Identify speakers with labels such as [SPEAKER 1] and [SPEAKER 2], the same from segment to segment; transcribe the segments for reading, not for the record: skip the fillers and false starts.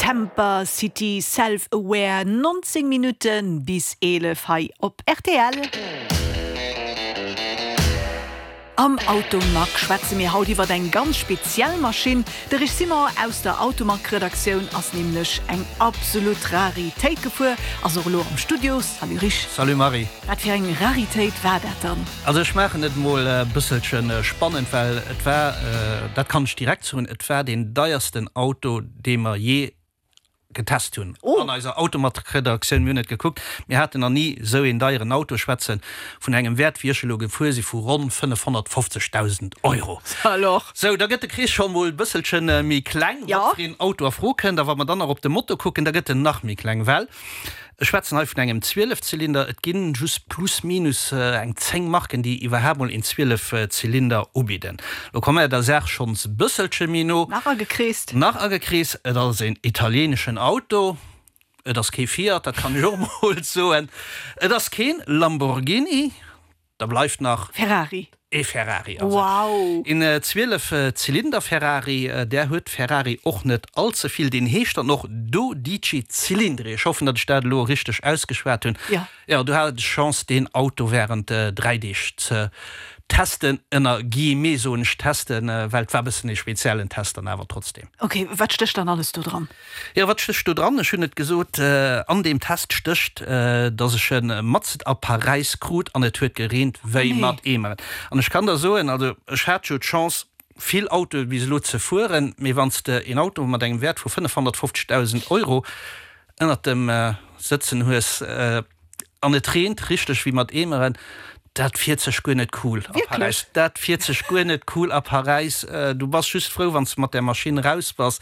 [SPEAKER 1] Tampa City Self Aware, 19 Minutte bis 11 hei op rtl. Am Automag schwätze mir haut iwwert eng ganz speziell Maschinn. De Rich Simon aus der Automag-Redaktioun ass nämlech eng absolut Raritéit gefuer, ass och elo am Studio. Salut Rich.
[SPEAKER 2] Salut Marie.
[SPEAKER 1] Wat fir eng Raritéit war dat dann?
[SPEAKER 2] Also ech maachen et mol e bësselche spannend, well et war, dat kann ech direkt soen, et war deen deiersten Auto, dee mer jee getest hunn an eiser Automag-Redaktioun. Mir hunn et gekuckt, mir haten nach ni esou een deieren Auto. Ech schwätze vun engem Wäert, wéi ech elo gefuer si, vu ronn 550.000 Euro. Sou, da gëtt de Krees scho mol e bësselche méi kleng, wat fir een Auto a Fro kënnt. A wa mer dann nach op de Moto kucken, da gëtt en nach méi kleng, well Ech schwätzen hei vun engem Zwielefzylinder. Et ginn just plus minus eng 10 Marken, déi iwwerhaapt mol een Zwielefzylinder ubidden. Lo komme mer der Saach schonns e bësselche méi no.
[SPEAKER 1] Nach agekreest.
[SPEAKER 2] Nach agekreest. Et ass een italieneschen Auto. Et ass kee Fiat, dat kann ech och mol soen. Et ass keen Lamborghini. Da bleift nach.
[SPEAKER 1] Ferrari.
[SPEAKER 2] Ee Ferrari also. Wow! Een 12 Zylinder Ferrari, där huet Ferrari och net all ze vill. Deen heescht dann och Dodici Cilindri. Ech hoffen, datt ech dat elo richteg ausgeschwat hunn.
[SPEAKER 1] Jo.
[SPEAKER 2] Jo, du hat d'Chance deen Auto während 3 Deeg ze testen, ënner Guillemets soen ech testen, well et war e bëssen ee speziellen Test dann awer trotzdem.
[SPEAKER 1] Ok, wat stécht dann alles do dran?
[SPEAKER 2] Jo, wat stécht do dran? Ech hunn et gesot, an deem Test stécht, dass ech e matzet a Paräis krut an et huet gereent wéi mat Eemeren. An ech kann der soen, also ech hat jo d'Chance, vill Autoe bis elo ze fueren, mee wann s de een Auto mat engem Wäert vu 550.000 Euro ënnert dem sëtzen hues, An et reent richteg wéi mat Eemeren. Dat fiert sech guer net cool a Paräis. Dat fiert sech guer net cool a Paräis. Du bass just frou, wann s de mat där Maschinn raus bass.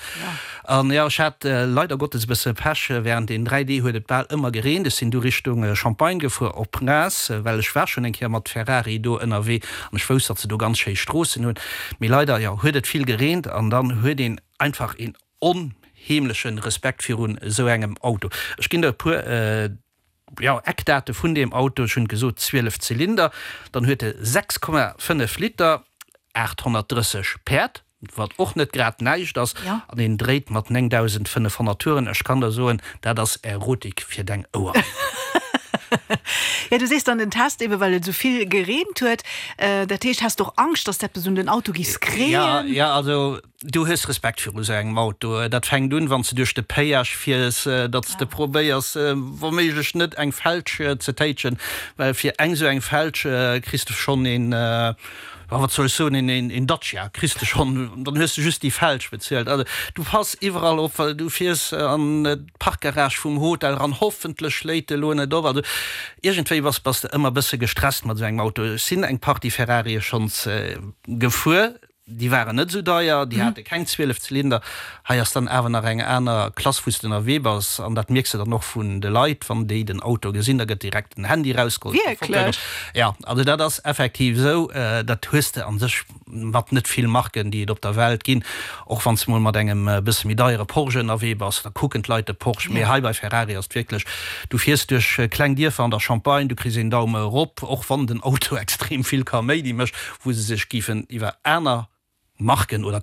[SPEAKER 2] An jo, ech hat leider Gottes e bësse Pech, Während den 3 Dee huet et bal ëmmer gereent. Ech sinn du Richtung Champagne gefuer, op Reims, well ech war schonn eng Kéier mat Ferrari do ënnerwee an ech wousst, datt se do ganz schéi Stroossen hunn. Mee leider, jo, huet et vill gereent an dann huet een einfach een onheemlechen Respekt virun esou engem Auto. Ech ginn der e puer, jo, Eckdate vun deem Auto. Ech hunn gesot 12 Zylinder, dann huet e 6,5 Liter, 830 Päerd, wat och net grad näischt ass, an en dréit mat 9.500 Touren. Ech kann der soen, dat ass Erotik fir deng Oueren.
[SPEAKER 1] Jo, du sees dann den Test, ebe well et esou vill gereent huet. Dat heescht, has de och Angscht, dass d'eppes un den Auto giss kréien?
[SPEAKER 2] Jo, jo, also Du hues Respekt viru sou engem Auto. Dat fänkt un, wann s de duerch de Péage fiers, datt s de probéiers, wa méiglech net eng Felg ze téitschen, well fir eng sou eng Felg kriss de schonn een, jo, wat soll ech soen, een Dacia kriss de schonn, dann hues de just déi Felg bezuelt. Also du pass iwwerall op, well du fiers an d'Parkgarage vum Hotel eran, hoffentlech schléit e lo net op. Also iergendwéi bass bass de ëmmer e bësse gestresst mat esou engem Auto. Ech sinn eng Partie Ferrarie schonns gefuer. Déi waren net esou deier, déi hate keng 12 Zylinder. Hei ass dann awer nach eng aner Klass, wou s de ënnerwee bass. An dat mierks de dann och vun de Leit, wann déi den Auto gesinn, da gëtt direkt den Handy erausgeholl.
[SPEAKER 1] Wierklech?
[SPEAKER 2] Jo, also dat ass effektiv esou. Dat hues de a sech mat net vill Marken, déi et op der Welt ginn. Och wann s de mol mat engem e bësse méi deiere Porsche ënnerwee bass, da kucken d'Leit de Porsche. Mee hei bei Ferrari ass et wierklech, du fiers duerch kleng Dierfer an der Champagne, du kriss een Daume erop, och wann den Auto extrem vill Kaméidi mécht, wou se sech géifen iwwer aner Marken oder.